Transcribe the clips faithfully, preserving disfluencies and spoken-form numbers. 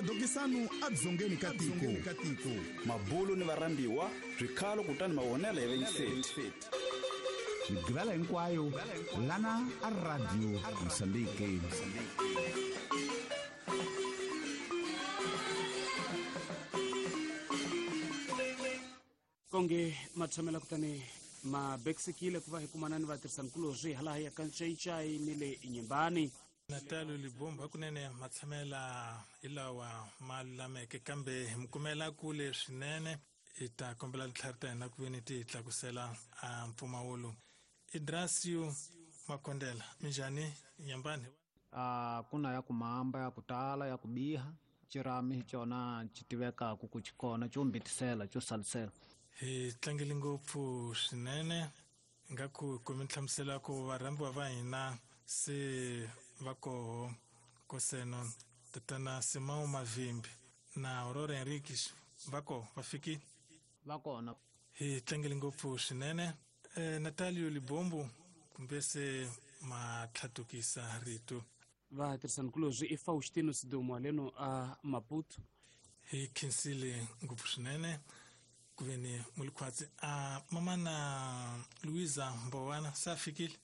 Dokisanu adzongeni ka tiko. Mabulu ni varhambiwa swikhalo kutani mavonelo ya vayingiseri. Migqivela hinkwayo lana a Radio Mozambique. Konge matshamela kutani mabeksekile ku va hi kumana ni vatirhisankulorhi hala ya ka Ncayincayi ni le Inyimbani. Natalio Libombo hakunene matshamela hi lawa ma lulameke kambe hi mi kumela kule swinene. Hi ta kombela tintlhari ta hina ku ve ni ti tlakusela a mpfumawulo. Idrasio Makondela, minjhani Nyambani? A ku na ya ku mamba ya ku tala ya ku biha xirhami hi xona xi tivekaka ku xi kona xo mbitisela xo salisela. Hi tlangele ngopfu swinene nga ku kumi nhlamuselo ku varhambiwa va hina se va koho Koseno tatana Simão Mavimbi na Aurora Henriques va koho va fikile va kona. Hi tlangele ngopfu swinene. E, Natalio Libombo kumbe se ma tlhatukisa rito. Vatirhisankulorhi i Faustino Sidumo leno a Maputo. Hi khensile ngopfu swinene ku ve ni mulikhwatsi a mamana Luisa Mbowana se a fikile.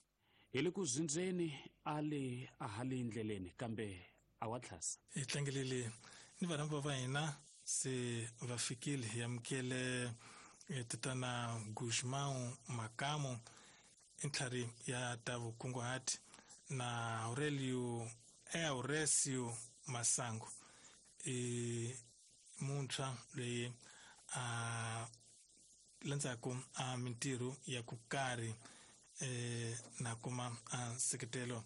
Hi le ku zindzeni a le a ha le ndleleni kambe a wa tlhasa. Hi tlangelele ni varhambiwa va hina se va fikile. Hi amukele tatana Guzmão Makamo i ntlhari ya ta vukunguhati na Aurelio Auresio Masango i muntshwa loyi a landzaku a mintirho ya ku karhi eh na kuma a nseketelo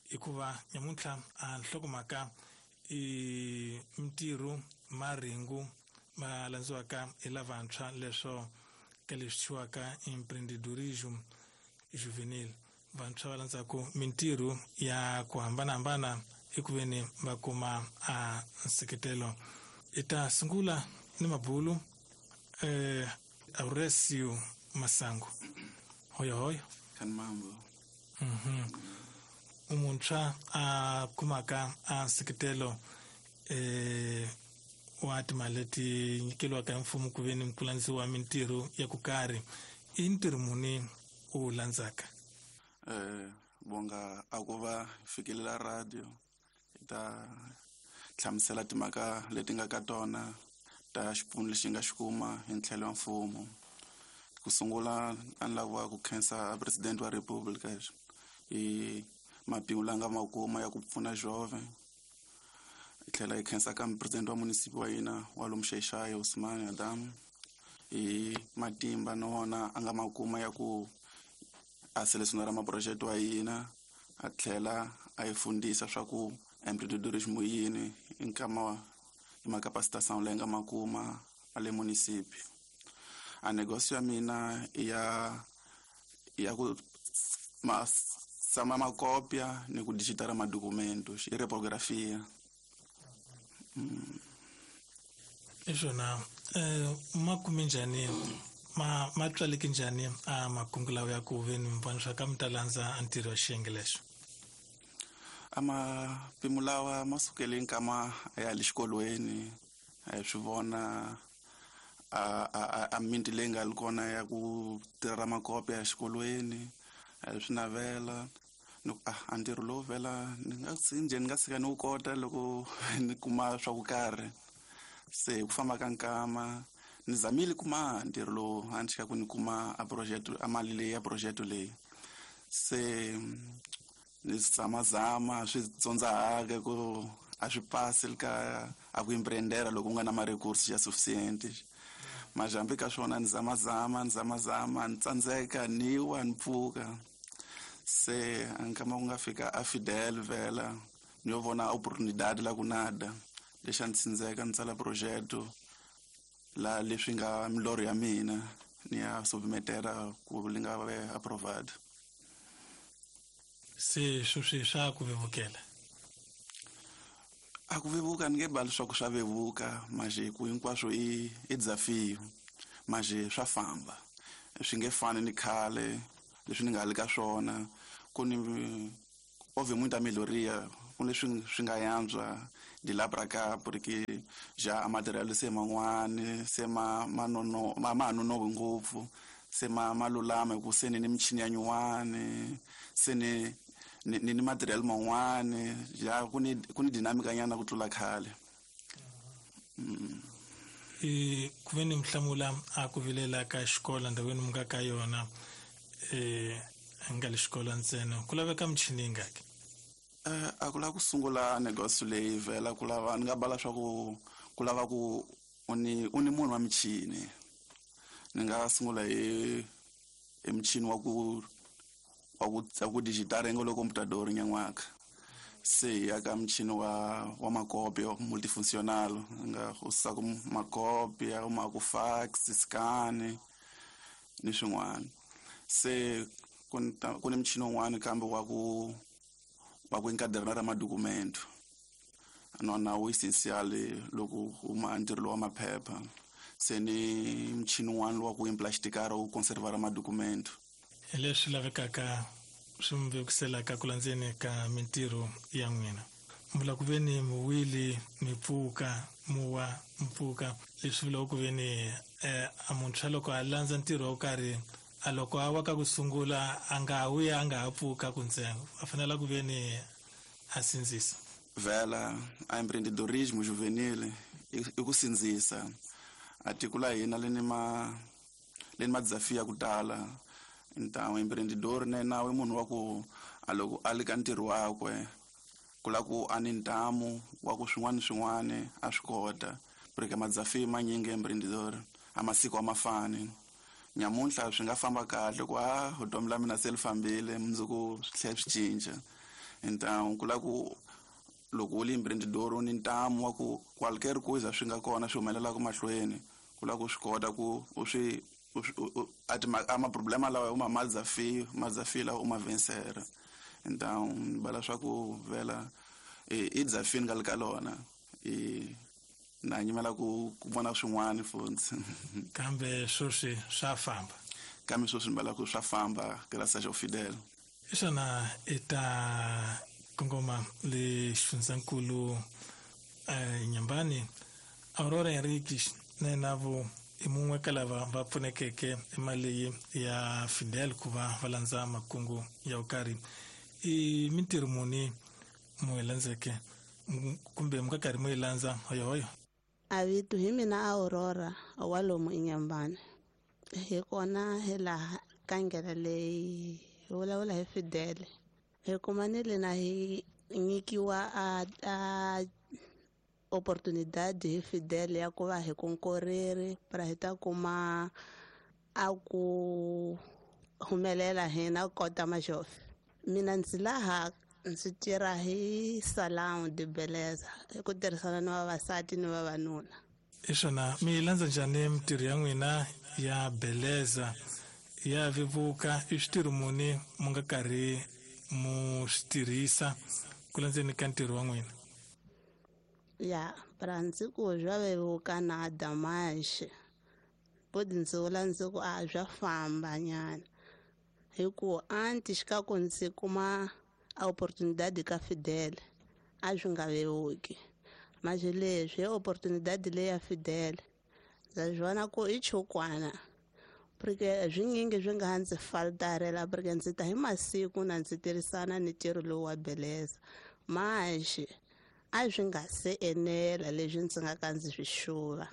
hikuva nyamuntlha a nhlokomhaka i mintirho maringu ma landziwaka hi lavantshwa leswo ka leswi thyiwaka empreendedorismo juvenil. Vantshwa va landzaku mintirho ya ku hambanahambana ekuveni va kuma a nseketelo. I ta sungula ni mabulu eh Auresio Masango. Hoyo hoyo. Kan mambo. Mhm. Umuntshwa a kumaka a nseketelo eh wa timali leti nyikeliwaka hi mfumo ku ve ni ku landziwa mintirho ya ku karhi. I ntirho muni u landzaka? Eh bonga a ku va fikelela radio hi ta hlamusela timhaka leti nga ka tona ta xipfuno lexi nga xi kuma hi ntlhelo wa mfumo. Ku sungula a ni lava ku khensa president wa Republika hi mapimo la nga ma kuma ya ku pfuna jove. Hi tlhela hi khensa ka president wa munisipi wa hina wa lomu Xaixai Usman Adam hi matimba na wona a nga ma kuma ya ku a selesionara maproject wa hina a tlhela a hi fundisa swa ku empreendedorismo yini hi nkama hi macapacitation leyi nga ma kuma a le munisipi. A negócio ya mina ya ya ku ma sama makopia ni ku digitara madocumentos i repografia. Mm. Isona eh ma kume njhani ma ma tswaleke njhani a makungu lawa ya ku ve ni mvona swa ka mi ta landza a ntirho wa xiyenge lexo? A mapimo lawa ma sukele nkama ya le xikolweni a hi swi vona a a a minti leyi nga li kona ya ku tirha makopia exikolweni a hi swi navela ni ku ah a ntirho lowu vhela ni nga njhe ni nga tshika ni wu kota loko ni kuma swa ku karhi. Se hi ku famba ka nkama ni zamile kuma ntirho lowu a ni tshika ku ni kuma a project a mali leyi ya project leyi. Se ni zamazama swi tsondzahaka ku a swi pasi ka a ku empreendera loko u nga na ma-recourse ya suficiente. Majambi ka swona ni zamazama ni zamazama ni tsandzeka ni wa ni pfuka. Se a nkama ku nga fika a Fidel vhela ni yo vona oportunidade la ku nada lexi a ni tsindzeka ni tsala projeto la leswi nga milorho ya mina ni ya submetera ku li nga ve approved. Se sweswi swa ku vevukela? A ku vevuka ni nge bali swa ku swa vevuka maje ku hinkwaswo i i desafio maje swa famba swi nge fani ni khale leswi ni nga li ka swona ku ni houve muita melhoria ku leswi swi nga yantswa de lá para cá, porque já a material se man'wani se ma manono ma manono ngopfu se ma malulama ku se ni ni michini ya nyuwani se ni ni ni material man'wani ja ku ni ku ni dinamika nyana ku tlula khale. Mm. E ku ve ni mhlamula a ku vilela ka xikolo ndhawini mu nga ka yona eh nga le xikolo ntsena ku laveka michini yingaki? Eh a ku lava ku sungula negócio leyi vhela ku lava ni nga bala swa ku ku lava ku u ni u ni munhu wa michini. Ni nga sungula hi hi michini wa ku wa ku wa ku digitara ngo lo computador nyan'waka se ya ka michini wa wa makopi multifuncional nga usa ku makopi ya ma ku fax scan ni swin'wana. Se ku ku ni michini wun'wana kambe wa ku wa ku encadernar madocumento nona wu essencial loko u ma ntirho wa maphepha. Se ni michini wun'wana wa ku emplasticar u conservar madocumento. Leswi lavekaka swi mi vekuselaka ku landzeni ka mintirho ya n'wina. Mvula ku ve ni muwili mi pfuka muwa mpfuka leswi vulaka ku ve ni eh, a muntshwa loko a landza ntirho wo karhi a loko a wa ka ku sungula a nga wi a nga ha pfuka ku ntsengo a fanela ku ve ni a sindzisa. Vhela a empreendedorismo juvenil i ku sindzisa a tiko la hina le ni ma le ni madzafia ku tala. Então empreendedor ne nawe munhu wa ku a loko a le ka ntirho wakwe ku la ku a ni ntamu wa ku swin'wana swin'wana a swi kota porque madzafi manyingi empreendedor a masiku a mafani. Nyamuntlha swi nga famba kahle ku a vutomi la mina se li fambile mundzuku swi tlhela swi cinca. Então ku la ku loko u li empreendedor u ni ntamu wa ku qualquer coisa swi nga kona swi humelelaka mahlweni ku la ku swi kota ku u swi ati ama problema lawa u ma madzafi madzafi lawa u ma vencera. Então bala swa ku vela i dzafini nga le ka lona i na nyimela ku ku vona swin'wana futhi. Kambe sweswi swa famba. Kambe sweswi ni bala ku swa famba graças ao Fidel. Xana i ta kongoma le xifundzankulu eh, Nyambani Aurora Henriques na navo i mun'we ka lava va pfunekeke mali leyi ya Fidel ku va va landza makungu ya vukarhi. I mintirho muni mu yi landzeke kumbe mu ka karhi mu yi landza hoyohoyo? A vito hi mina Aurora wa lomu Inyambani. Hi kona hi laha ka ndlela leyi hi vulavula hi Fidel. Hi kumanile na hi nyikiwa a a oportunidade hi Fidel ya ku va hi konkoreri para hi ta kuma a ku humelela hina kota majofe. Mina ndzi laha ndzi tirha hi salão de beleza hi ku tirhisana ni vavasati ni vavanuna. I swona mi landza njhani mintirho ya n'wina ya beleza ya vevuka? I switirho muni mu nga karhi mu swi tirhisa ku landzeni ka ntirho wa n'wina? Ya para ndzi ku swa vevuka nada mais bodi ndzi vula ndzi ku a swa famba nyana hi ku antes ka ku ndzi kuma a oportunidade ka Fidel a swi nga vevuki. Mas leswi hi oportunidade leyi ya Fidel ndza swi vona ku i chukwana porque swinyingi swi nga ndzi faltarela porque ndzi ta hi masiku na ndzi tirhisana ni ntirho lowu wa beleza mas a swi nga se enela leswi ndzi nga ka ndzi swi xuva.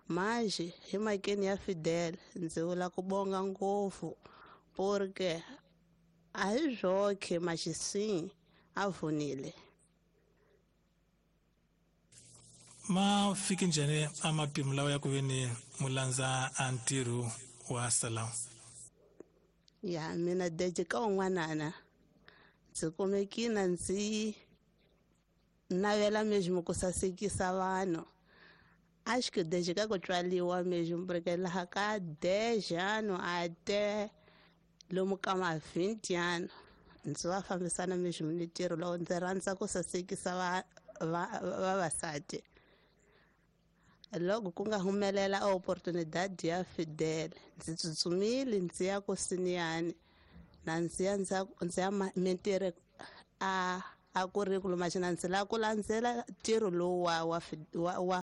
Mas hi makeni ya Fidel ndzi vula ku bonga ngopfu porque a hi swoke maxisini a vunile. Ma fiki njhani a mapimo lawa ya ku ve ni mu landza a ntirho wa salão? Ya mina deje ka un'wanana ndzi kumekina ndzi navela mesmo ku sasekisa vanhu. Acho que desde ka ku tswaliwa mesmo porque laha ka dez anos até lomu ka ma vinte anos ndzi va fambisana mesmo ni ntirho lowu ndzi rhandza ku sasekisa va vavasati. Loko ku nga humelela oportunidade ya Fidel ndzi tsutsumile ndzi ya ku siniyani na ndzi ya ndzi ya mintirho a a currículo mas na ndzi lava ku landzela ntirho lowu wa wa wa wa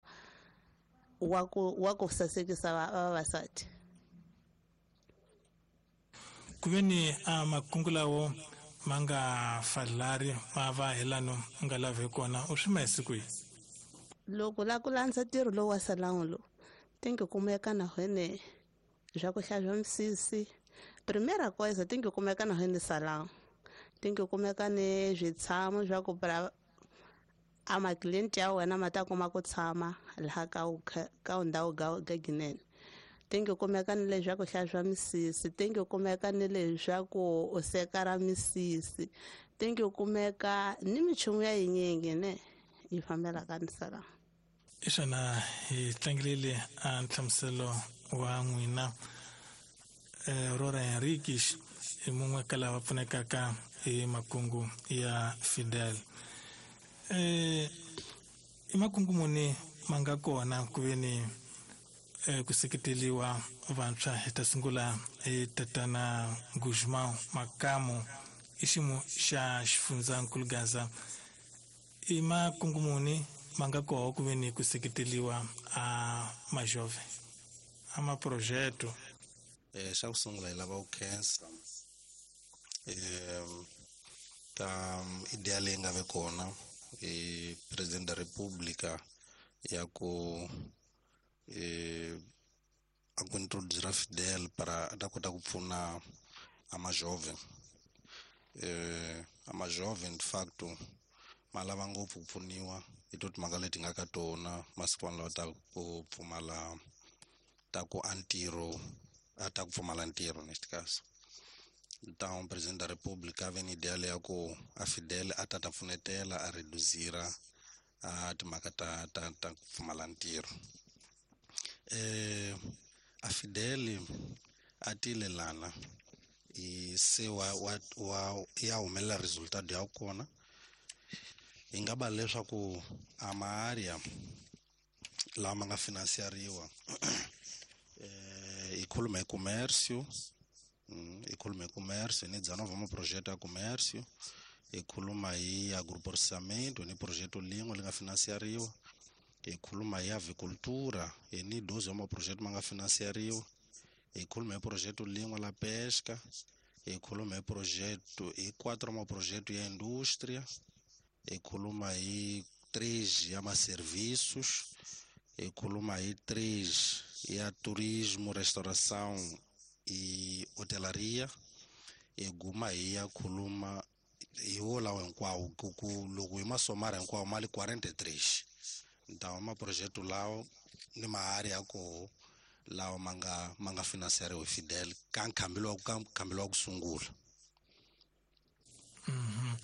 wa ku wa ku sasekisa vavasati. Ku ve ni a makungu lawo ma nga falari ma va hi lano u nga lavi kona u swi ma siku yi loko la ku landza ntirho lowu wa salão lowu tem que kumeka na hene swa ku hlantswa misisi. Primeira coisa tem que kumeka na hene salão, tem que kumeka ni switshamo swa ku pra a macliente ya wena ma ta kuma ku tshama laha ka ka ndhawu ga ginene. Tem que kumeka ni leswaku hlantswa misisi, tem que kumeka ni leswaku u sekara misisi, tem que kumeka ni minchumu ya yinyingi ne yi fambelaka ni salão. I swona hi tlangelile a nhlamuselo wa n'wina Aurora Henriques i mun'we ka lava pfunekaka hi makungu ya Fidel. Eh i makungu muni ma nga kona ku ve ni ku seketeliwa vantshwa? Hi ta sungula hi tatana Guzmão Makamu i ximo xa xifundzankulu Gaza. I makungu muni ma nga koho ku ve ni ku seketeliwa a majove a maprojeto? Eh xa ku sungula hi lava ku khensa eh ka idea leyi nga ve kona hi President da República ya ku eh a ku introduzira Fidel para a ta kota ku pfuna a majove. Eh a majove in facto ma lava ngopfu ku pfuniwa hi to timhaka leti nga ka tona masikwana lawa ta ku pfumala ta ku a ntirho a ta ku pfumala ntirho neste caso. Então Presidente da República vem ideia leya ku a Fidel a ta ta pfunetela a reduzira a timhaka ta ta ta ku pfumala ntirho. Eh a Fidel a tile lana i se wa wa wa ya humelela resultado ya kona hi nga va leswaku a maarea lama nga financiariwa eh hi khuluma hi comércio, hi khuluma hi comércio ni dezenove ma projeto ya comércio, hi khuluma hi agroprocessamento ni projeto lin'we li nga financiariwa, hi khuluma hi avicultura hi ni doze wa maprojeto ma nga financiariwa, hi khuluma hi projeto lin'we la pesca, hi khuluma hi projeto hi quatro maprojeto ya indústria, hi khuluma hi três ya maserviços, hi khuluma hi três ya turismo, restauração e hotelaria, hi guma hi ya khuluma hi wo lawa hinkwawo ku ku loko hi masomara hinkwawo mali quarenta e três. Então maprojeto lawo ni maarea ya koho lawa ma nga ma nga financiariwa hi Fidel ka nkhambelo wa ka nkhambelo wa ku sungula. Mhm.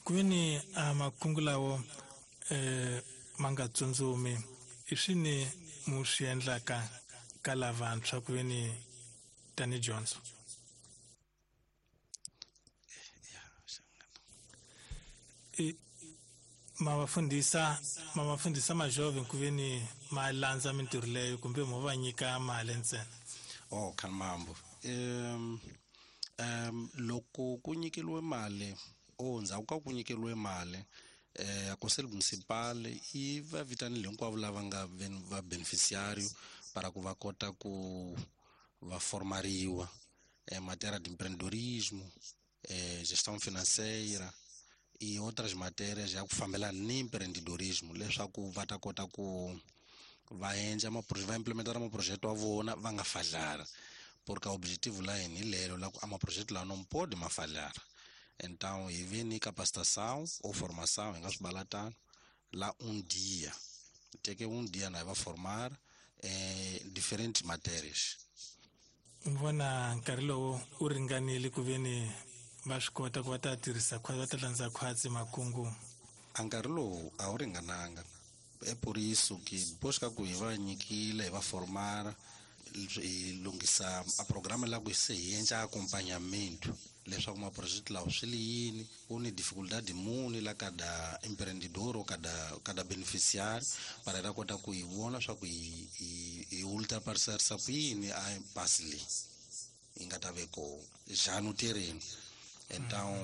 Ku ve ni a makungu lawo eh ma nga tsundzumi i swini mu swi endlaka ka lavantshwa ku ve ni tani dyondzo? I ma va fundisa ma va fundisa majove ku ve ni ma landza mintirho leyo kumbe mo va nyika mali ntsena? Oh khanmambo um um loko ku nyikeliwe mali o ndzhaku ka ku nyikeliwe mali eh a conselho municipal yi va vitanile hinkwavo lava nga va beneficiário para ku va kota ku va formariwa em matéria de empreendedorismo, eh gestão financeira e outras matérias ya ku fambelana ni empreendedorismo leswaku va ta kota ku va endla va implementar maprojeto wa vona va nga falhara, porque objetivo la hina hi lelo la ku a maprojeto lawa no pode ma falhara. Então hi ve ni capacitação ou formação hi nga swi bala tano la um dia teke um dia na hi va formar eh diferentes matérias. Vona nkarhi lowu u ringanile ku ve ni va swi kota ku va ta tirhisa va ta landza khwatsi makungu? A nkarhi lowu a wu ringananga. É por isso que depois ka ku hi va nyikile hi va formar hi lunghisa a programa la ku se hi endla acompanhamento leswaku maprojeto lawa swi li yini, ku ni dificuldade muni la kada empreendedor ou kada kada beneficiário para ta kota ku hi vona swa ku hi hi hi ultrapassarisa ku yini a impasse leyi yi nga ta ve kona já no terreno. Então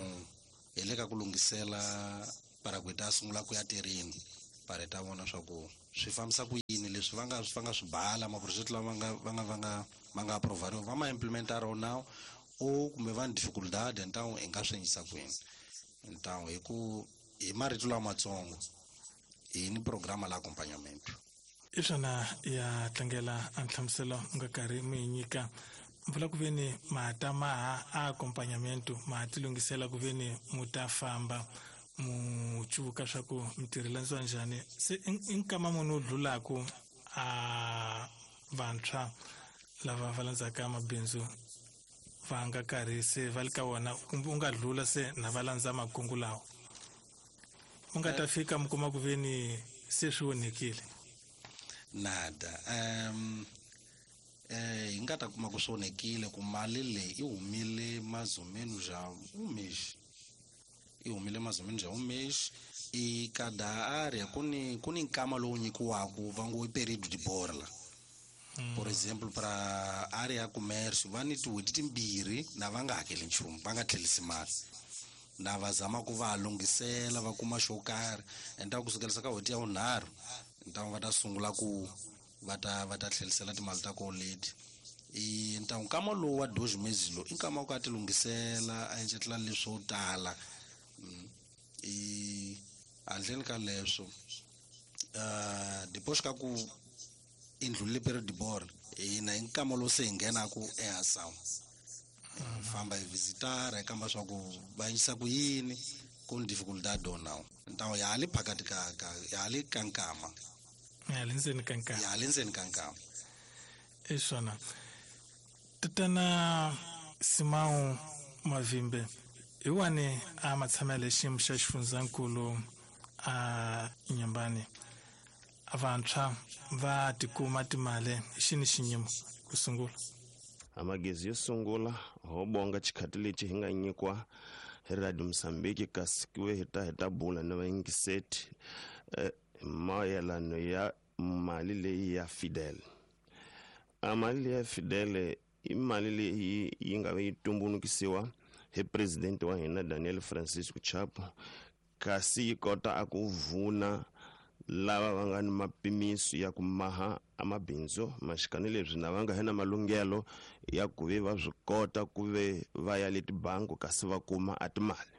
hi le ka ku lunghisela para ku ta sungula ku ya terreno para ta vona swa ku swi fambisa ku yini leswi va nga swi va nga swi bala maproject lama nga va nga va nga va nga aprovariwa va ma implementara now o kumbe va ni dificuldade então hi nga swi endlisa ku yini. Então hi ku hi marito lamatsongo hi ni programa la accompagnamento. I swona ya tlangela a nhlamuselo u nga karhi mi yi nyika mpfula ku veni ma ta maha a accompagnamento ma ti lunghisela ku veni mu ta famba mu cuvuka swa ku mi tirhelandziwa njhani se i nkama munhu u dlulaku a vantshwa lava va landzaka mabindzu va nga karhi se va le ka wona kumbe u nga dlula se na va landza makungu lawa u nga ta fika mi kuma ku veni se swi onhekile. Nada um eh hi nga ta kuma ku swi onhekile ku mali leyi i humile mais ou menos já um mês i humile mais ou menos já um mês e cada área ku ni ku ni nkama lowu nyikiwaka va ngo i período de borla. Mm. Por exemplo para área ya comércio va ni tin'hweti timbirhi na va nga hakeli nchumu va nga tlherisi mali na va zama ku va lunghisela va kuma xo karhi endzhaku kusukelisa ka n'hweti ya vunharhu então va ta sungula ku va ta va ta tlherisela timali ta kona leti. I então nkama lowu wa dois meses lowu i nkama wa ku a ti lunghisela a endletela leswo tala. I handleni ka leswo uh depois ka ku i ndlulile period de borla hina hi nkama lowu se hi nghenaku eação famba hi visitar hi kamba swa ku va endlisa ku yini ku ni dificuldade ou não. Então ya ha li phakathi ka ka ya ha li ka nkama ya le ndzeni ka nkama ya ha le ndzeni ka nkama. I swona tatana Simão Mavimbe hi wani a matshamela xiyimo xa xifundzankulu a Inhambane vantshwa va tikuma timali xini xinyimo ku sungula amagezi yo sungula ho bonga xikhati lexi hi nga nyikiwa hi Radio Mozambique kasi ku ve hi ta hi ta bula na vayingiseti eh, mayelano ya mali leyi ya Fidel. A mali leyi ya Fidel i mali leyi yi nga ve yi tumbulukisiwa hi president wa hina Daniel Francisco Chapo kasi yi kota a ku vuna lava va nga ni mapimiso ya ku maha amabindzu maxikani leswi na va nga hina malunghelo ya ku ve va swi kota ku ve va ya le tibangi kasi va kuma a timali.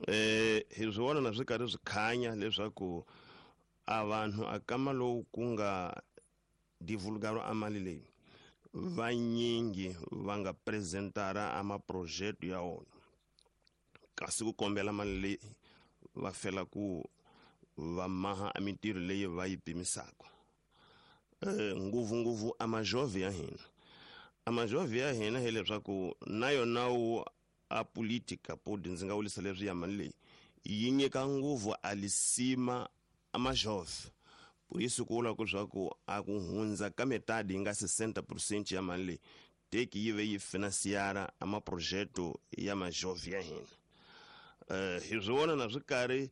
Eh hi swi vona na swi karhi swi khanya leswaku a vanhu a kama lowu ku nga divulgariwa a mali leyi vanyingi va nga presentara a maproject ya wona kasi ku kombela mali leyi va fela ku va maha a mintirho leyi va yi pimisaka. Eh ngopfungopfu a majove ya hina a majove ya hina hileswaku na yona wu a politika podi ndzi nga vulisa leswi ya mali leyi yi nyika ngopfu a lisima a majove por isso ku vula ku swa ku a ku hundza ka metade yi nga sessenta por cento ya mali leyi teki yi ve yi financiara a maprojeto ya majove ya hina. Eh hi swi vona na swi karhi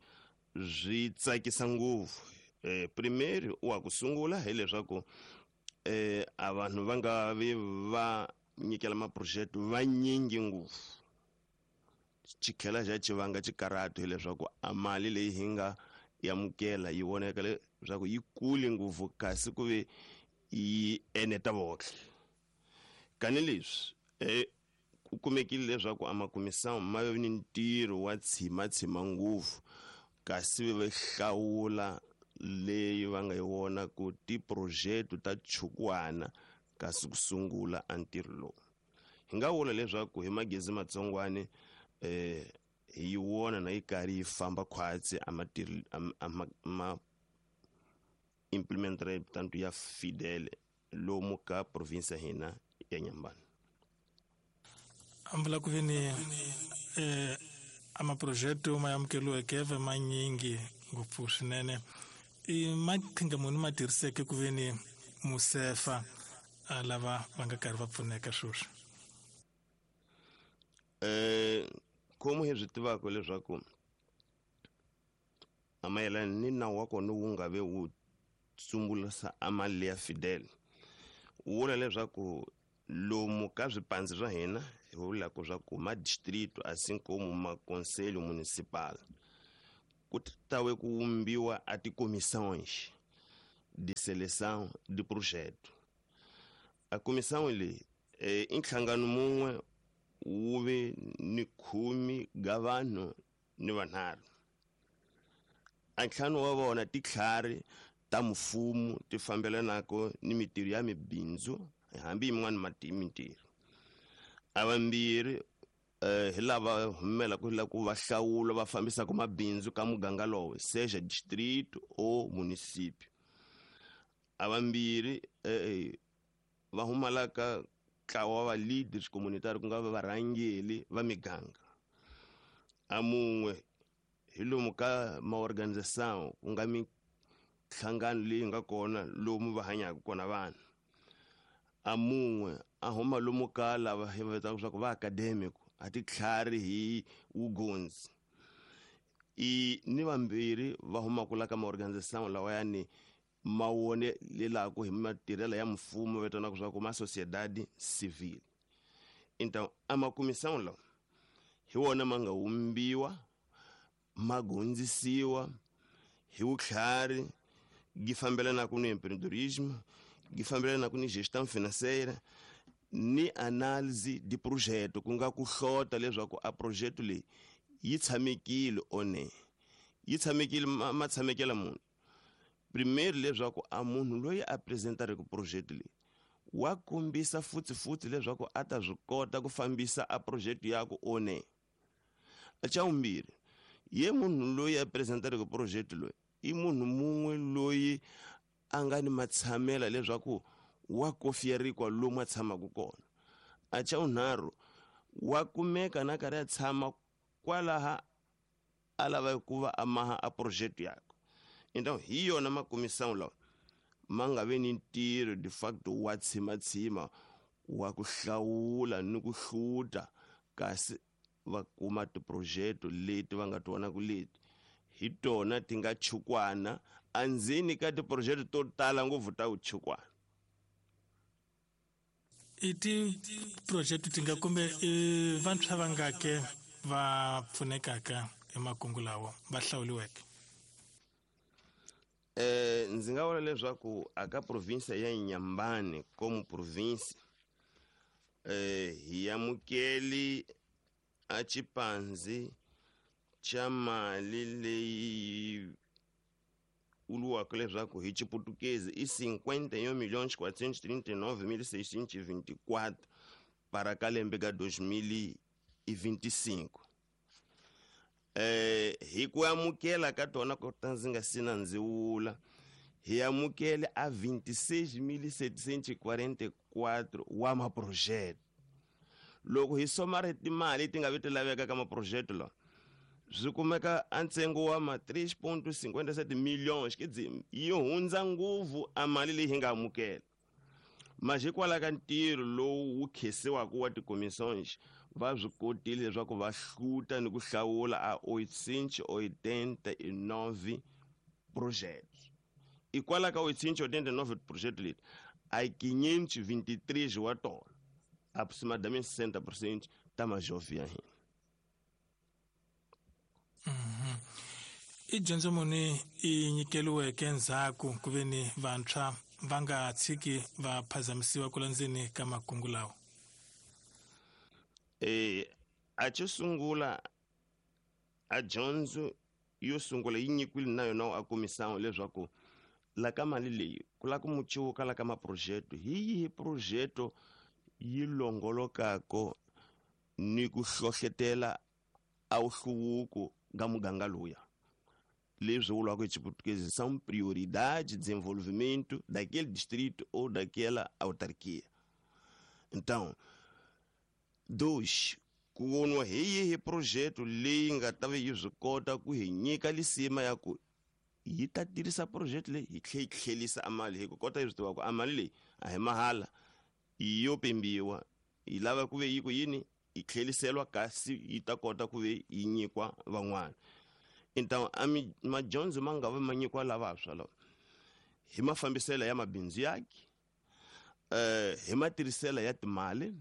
swi tsakisa ngopfu. Eh primeiro wa ku sungula hileswaku eh a vanhu va nga vi va nyikela maproject vanyingi ngopfu xikhela xa xivanga xikarhatu hileswaku a mali leyi hi nga yamukela yi voneka leswaku yi kule ngopfu kasi ku ve yi eneta vohle. Kani leswi eh ku kumekile leswaku a makumisamo ma ve ni ntirho wa tshima tshima ngopfu kasi va hlawula leyi va nga yi vona ku tiproject ta chukwana kasi ku sungula a ntirho lowu. Hi nga vula leswaku hi magezi matsongwane eh hi yi vona na yi karhi yi famba khwatsi a matirhi ma implement rate tanto ya Fidel lomu ka province hina ya Inhambane. Ambula ku veni eh amaprojeto ma amukeliweke va manyingi ngopfu swinene i maqhinga muni ma tirhiseke ku veni musefa a lava va nga karhi va pfuneka sweswi. Eh como hi swi tivaka leswaku a mayelana ni nawu wa kona wu nga ve wu sungulisa a mali ya Fidel wu vula leswaku lomu ka swipandzi swa hina hi vulaka swa ku ma distrito assim como ma conselho municipal ku tawe ku vumbiwa a tikomissões de seleção de projeto. A comissão leyi eh, i nhlangano mun'we wu ve ni khume ga vanhu ni vanharhu. A ntlhanu wa vona titlhari ta mfumo ti fambelanaka ni mitirho ya mibindzu hambi yin'wana mintirho. A vambirhi eh, hi lava humelaka la ku va hlawula va fambisaka mabindzu ka muganga lowo, seja distrito ou município. A vambirhi eh, va humalaka ntlawa wa leaders communitary ku nga va varhangeli va miganga. A mun'we hi lomu ka maorganização ku nga minhlangano leyi nga kona lomu va hanyaka kona vanhu. A mun'we a huma lomu ka lava hi va vitanaka leswaku va academic, a titlhari hi vugondzi. I ni vambirhi va humaka la ka maorganização lawayani ma wonelelaku hi matirhelo ya mfumo vitanaka leswaku ma sociedade civil. Então a makomissão lawa hi wona ma nga vumbiwa ma gondzisiwa hi vutlhari gi fambelanaka ni empreendedorismo, gi fambelanaka ni gestão financeira ni análise de projeto, ku nga ku hlota leswaku a projeto leyi yi tshamekile one yi tshamekile ma tshamekela munhu. Primeiro leswaku a munhu loyi a apresentareke projeto leyi wa kombisa futhi futhi leswaku a ta swi kota ku fambisa a projeto yaku one. A xa vumbirhi, ye munhu loyi a apresentareke projeto loyi i munhu mun'we loyi a nga ni matshamela leswaku wa kofierikwa lomu a tshamaka kona. A xa vunharhu, wa kumeka na karhi a tshama kwalaha a lava ku va a maha a projeto yakwe. Então hi yona makomissão lawa ma nga ve ni ntirho de facto wa tshimatshima wa ku hlawula ni ku hluta kasi va kuma tiprojeto leti va nga ti vonaka leti hi tona ti nga chukwana andzeni ka tiprojeto to tala ngopfu ta vuchukwana. I tiprojeto ti nga kumbe i vantshwa vangake va pfunekaka hi makungu lawa va hlawuriweke? Eh, ndzi nga vula leswaku aka provinsia ya Inhambane como província eh, hi amukeli a xipanzi xa mali leyi vuriwaka leswaku hi xiputukezi i cinquenta e um milhões quatrocentos e trinta e nove mil seiscentos e vinte e quatro para ka lembe ka dois mil e vinte e cinco. Eh, hi ku amukela ka tona ku ta ndzi nga si na ndzi vula hi amukele a vinte e seis mil setecentos e quarenta e quatro wa maprojeto. Loko hi somara timali ti nga vi ti laveka ka maprojeto lawa swi kumeka a ntsengo wa ma três ponto cinquenta e sete milhões, quer dizer, yi hundza ngopfu a mali leyi hi nga amukela. Mas hikwalaho ka ntirho lowu wu khensiwaka wa tikomissões va swi kotile leswaku va hluta ni ku hlawula a oitocentos e oitenta e nove projetos. Hikwalaho ka oitocentos e oitenta e nove projetos leti a quinhentos e vinte e três wa tona, aproximadamente sessenta por cento ta majovem ya hina. Mm-hmm. I dyondzo muni i nyikeliweke ndzhaku ku ve ni vantshwa va nga tshiki va phazamisiwa ku landzeni ka makungu lawa? Eh, a xo sungula a dyondzo yo sungula yi nyikiwile na yona a comissão leswaku la ka mali leyi ku lava ku muciwuka la ka maprojeto hi yihi projeto yi longolokako ni ku hlohletela a wuhluvuko ka muganga luya. Leswi vuriwaka hi xiputukezi são prioridade de desenvolvimento daquele distrito ou daquela autarquia. Então, dois, ku voniwa hi yihi projeto leyi nga ta va yi swi kota ku hi nyika lisima ya ku yi ta tirhisa projeto leyi yi tlhe yi tlhelisa a mali, hi ku kota hi swi tiva ku a mali leyi a hi mahala yo pimbiwa yi lava ku ve yi ku yini yi tlheliseriwa kasi yi ta kota ku ve yi nyikwa van'wana. Então a madyondzo ma nga va ma nyikiwa lavantshwa lava hi mafambiselo ya mabindzu yake, eh, hi matirhiselo ya timali,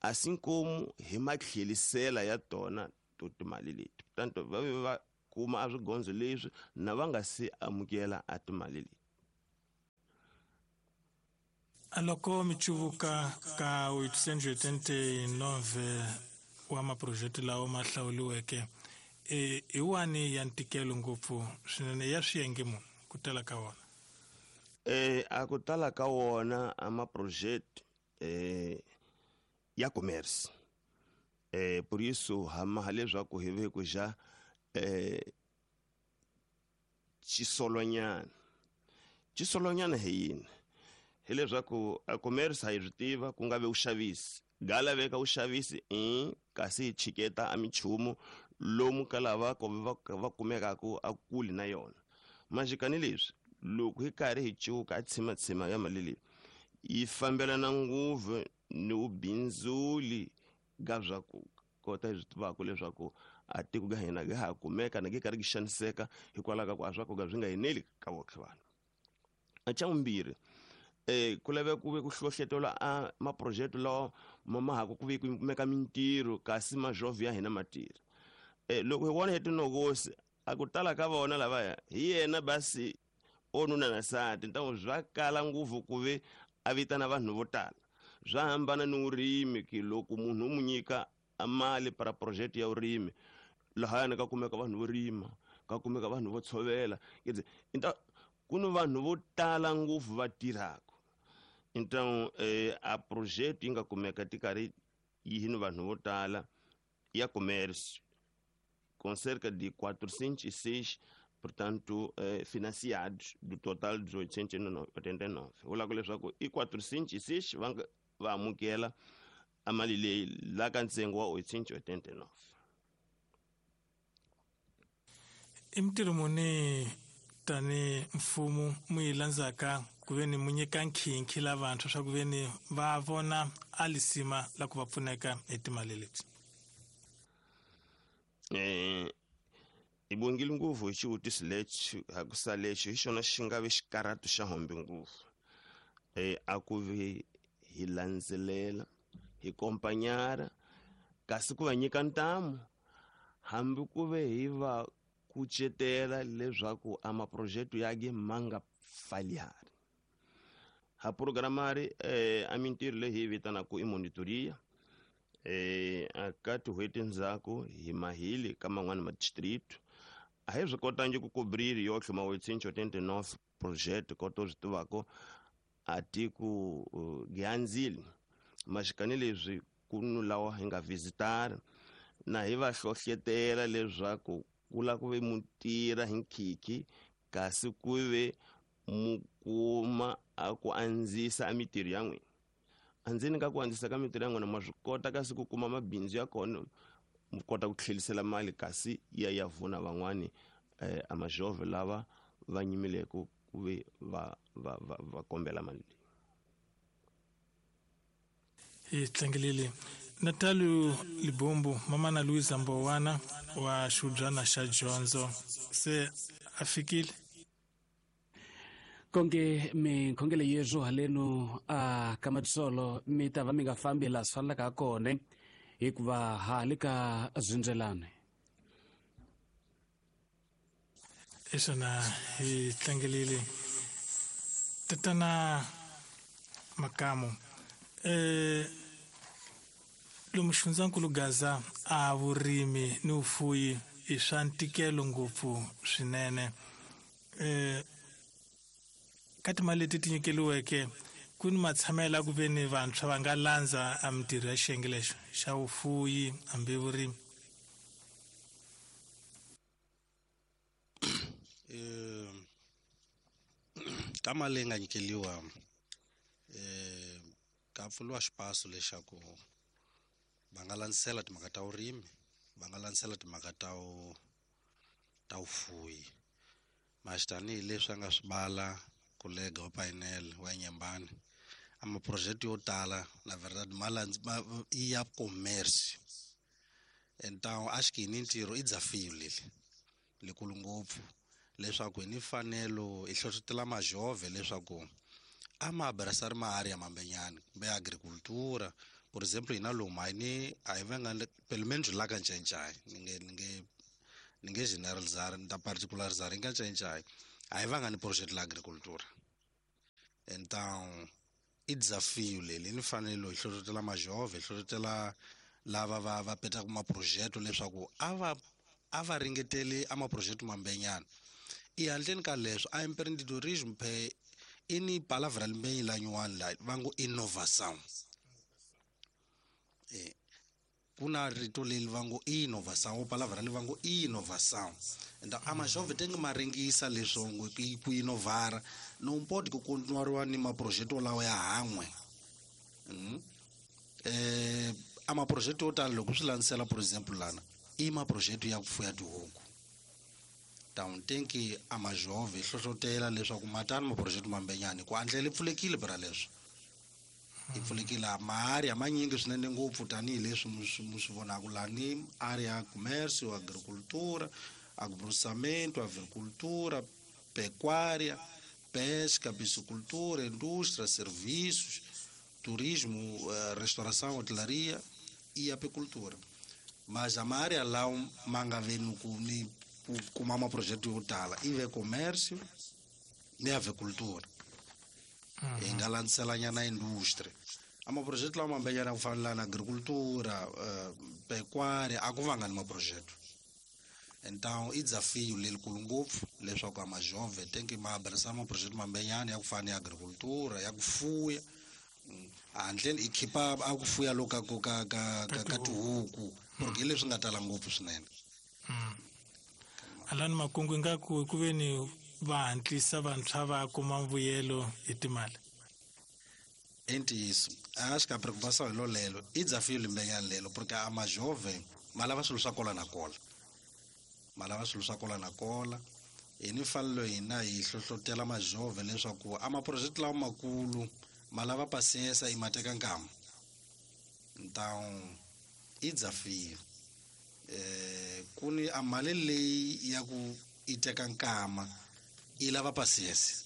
assim como hi matlhelisela ya tona to timali leti. Portanto va ve va kuma a swigondzo leswi na va nga se amukela a timali leti. Aloko michuvuka ka oitocentos e oitenta e nove wa maprojekti lawa ma hlawuriweke e i wani ya ntikelo ngopfu swinene ya swiyenge muni ku tala ka wona? Eh a ku tala ka wona a maprojekti eh ya commerce eh por isso hama leswaku hi ve ku ja eh xisolonyana xisolonyana hi yini hi leswaku a commerce a yi swi tiva ku nga ve vuxavisi ga laveka vuxavisi i kasi hi chiketa a minchumu lomu ka lava va va kumekaka a kuli na yona majikani leswi loko hi karhi hi cuka a tshimatshima ya mali leyi yi fambelana ngopfu ni vubindzuli ga swa ku kota hi swi tivaka leswaku a tiko ga hina ga ha kumeka na gi karhi gi xaniseka hikwalaho ka ku a swa ku ga swi nga eneli ka votlhe vanhu. A xa vumbirhi eh ku laveka ku ve ku hlohletela a maprojekti lawa ma ma ha ku ve ku kumeka mintirho kasi majovhi ya hina ma tirha. Eh loko hi vona hi tinokosi a ku tala ka vona lavaya hi yena basi onuna na nsati ntango swa kala ngopfu ku ve a vitana vanhu vo tala swa hambana ni vurimi ki loko munhu u mu nyika a mali para project ya vurimi lahayani ka kumeka vanhu vo rima ka kumeka vanhu vo tshovela inta ku ni vanhu vo tala ngopfu va tirhaka então eh, a project yi nga kumeka ti karhi yi ni vanhu vo tala ya commerce com cerca de quatrocentos e seis portanto eh, financiados do total de oitocentos e oitenta e nove vula ku leswaku i quatrocentos e seis va va amukela a mali leyi la ka ntsengo wa oitocentos e oitenta e nove. I mintirho muni tani mfumo mu yi landzaka ku ve ni mu nyika nkhinkhi la vantshwa swa ku ve ni va vona a lisima la ku va pfuneka hi timali leti? Eh i bongile ngopfu hi xivutiso lexi hakusa lexi hi xona xi nga ve xikarhatu xa hombe ngopfu eh a ku ve hi landzelela hi kompanyara kasi ku va nyika ntamu hambi ku ve hi va kucetela leswaku a maprojekti ya ge ma nga falhari ha programari eh a mintirho leyi hi vitanaka i monitoria eh a ka tin'hweti ndzhaku hi mahili ka man'wani ma distrito a hi swi kotangi ku cobrir yotlhe ma oitocentos e oitenta e nove project koto swi tivaka a tiko giandzile maxikani leswi ku nu lawa hi nga visitara na hi va hlohletela leswaku ku la ku ve mu tirha hi nkhikhi kasi ku ve mu kuma a ku andzisa a mintirho ya n'wina andzeni ka ku andzisa ka mintirho ya n'wina ma swi kota kasi ku kuma mabindzu ya kona mu kota ku tlhelisela mali kasi ya ya vuna van'wani eh, a majove lava va nyimileke ku ve va va va va kombela mali leyi. Hi tlangelile Natalio Libombo mama na Luisa Mbowana wa xubyana xa dyondzo se a fikile konke minkhongelo yezwo haleno a ka matsolo mi ta va mi nga fambi laha swi fanelaka kona hikuva ha le ka zindzelane. Isona hi tlangelile tatana Makamu eh lomu xifundzankulu Gaza a vurimi ni vufuyi i swa ntikelo ngopfu swinene eh ka timali leti ti nyikeliweke ku ni matshamelo ku ve ni vantshwa va nga landza a mintirho ya xiyenge lexo xa vufuyi hambi vurimi? Eh ka mali leyi nga nyikeliwa eh ka pfuriwa xipaso lexaku va nga landzisela timhaka ta vurimi va nga landzisela timhaka ta ta vufuyi maxi tanihileswi a nga swi bala kolega wa painel wa Nyembani a maprojekti yo tala na verdade ma i ya commerce então acho que ni ntirho i desafio leli likulu ngopfu leswaku hi ni mfanelo hi hlohlotela majove leswaku a ma abraçar ma área mambenyana kumbe agricultura por exemplo hina lomu a hi ni a hi vanga pelo menos la ka Ncayincai ni nge ni nge Ni nge generalizar ni ta particularizar nga cinca a hi vanga ni projeto la agricultura. Então i desafio leli ni fanele hi hlohlotela majove hi hlohlotela lava va va petaka maprojeto leswaku a va a va ringeteli a maprojeto mambenyana. I handleni ka leswo a empreendedorismo phe i ni palavra limbenyi la nyuwani la va ngo innovação. Eh kuna rito leri va ngo innovação, palavra leri va ngo innovação. Então a majove tem que maringisa leswo ngo ku innovara não pode ku continuar ni maprojeto lawa ya han'we. Mm. Eh a maprojeto yo tala loko swi landzela por exemple lana i maprojeto ya ku fuya tihuku. Então tem que a majove hlohlotela leswaku matani maprojeto mambenyani ku andlela i pfulekile bra leswo. I pfulekile maarea manyingi swinene ngopfu tanihileswi mi swi vonaka lani area ya comércio, agricultura, agroprocessamento, avicultura, pecuária, pesca, piscicultura, indústria, serviços, turismo, restauração, hotelaria e apicultura. Mas a área lá manga vem com com uma projeto yo tala i ve comércio ni avicultura. Hi nga landzelanyana industry. A maprojeto lawa mambenyana ku fana na agricultura, uh, pecuária, a ku vanga ni maprojeto. Então i desafio lelikulu ngopfu leswaku a majove tem que ma abraçar maprojeto mambenyana ya ku fana ni agricultura, ya ku fuya. Handleni i khipa a ku fuya loka ka ka ka ka, ka tihuku porque hi leswi nga tala ngopfu swinene. Alani makungu ingaku ku ve ni va hatlisa vantshwa va kuma mbuyelo hi timali. I ntiyiso a xi ka preocupação hi lolelo i desafio limbenyana lelo porque a majove ma lava swilo swa kola na kola. Ma lava swilo swa kola na kola. Hi ni fanelo hina hi hlohlotela majove leswaku a maprojeto lawa makulu ma lava paciência i ma teka nkama. Então i desafio. Eh ku ni a mali leyi ya ku i teka nkama i lava paciência.